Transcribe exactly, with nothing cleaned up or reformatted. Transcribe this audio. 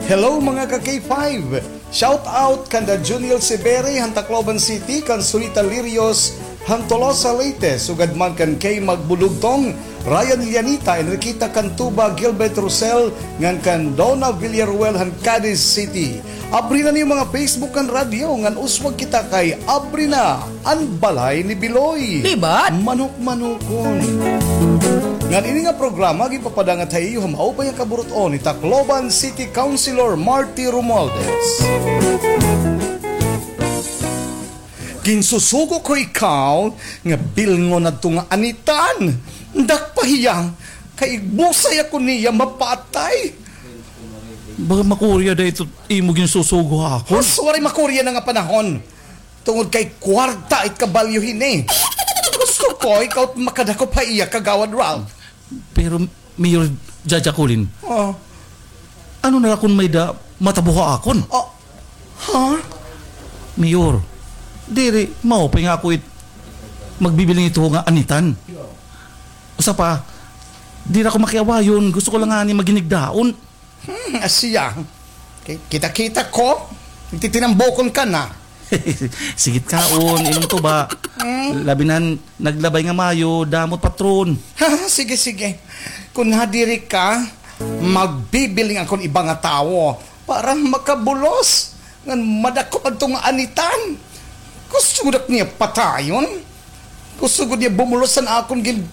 Hello, mga ka K five! Shout out kanda Juniel Siberi han Tacloban City, kan Sunita Lirios han Tolosa, Leyte, sugad man kan Kay Magbulugtong, Ryan Ilianita, Enriqueta Cantuba, Gilbert Rosel, ngan kan Donna Villaruel han Cadiz City. Abri na niyo mga Facebook ngan radyo, ngan uswag kita kay abri na an balay ni Biloy. Libat. Manok-manokon. Ngan ini nga programa ginpapadangat ha iyo ha maupay nga kaburut-on ni Tacloban City Councilor Marty Romualdez. Ginsusugo ko ikaw nga bilngon adto nga anitan. Dakpa hiya, kay busay ako niya mapatay. Baga makurya da ito imo ginsusugo ha akon. Sus, waray makurya na nga panahon. Tungod kay kwarta it kabalyo hini. Gusto ko ikaw it makadakop ha iya, Kagawad Ralph. Pero, Mayor Jaja Colin, Oh. ano na la kon may-ada matabo ha akon? Oh. Ha? Mayor, diri, maupay nga ako it magbibilin ito nga anitan. Usa pa, diri ako makiawayon, gusto ko la ngani maginigdaon. Hmm, asiya. Ki-, kita-kita ko, nagtitinambokon ka na. Sige it kaon, inom tuba. Hmm? Labi na han naglabay nga mayo, damo it patron. Sige, sige. Kon nadiri ka, magbibilin ako hin iba nga tawo para makabulos ngan madakop adto nga anitan. Gusto gud ak niya patayon. Gusto gud niya bumulos han akon gin-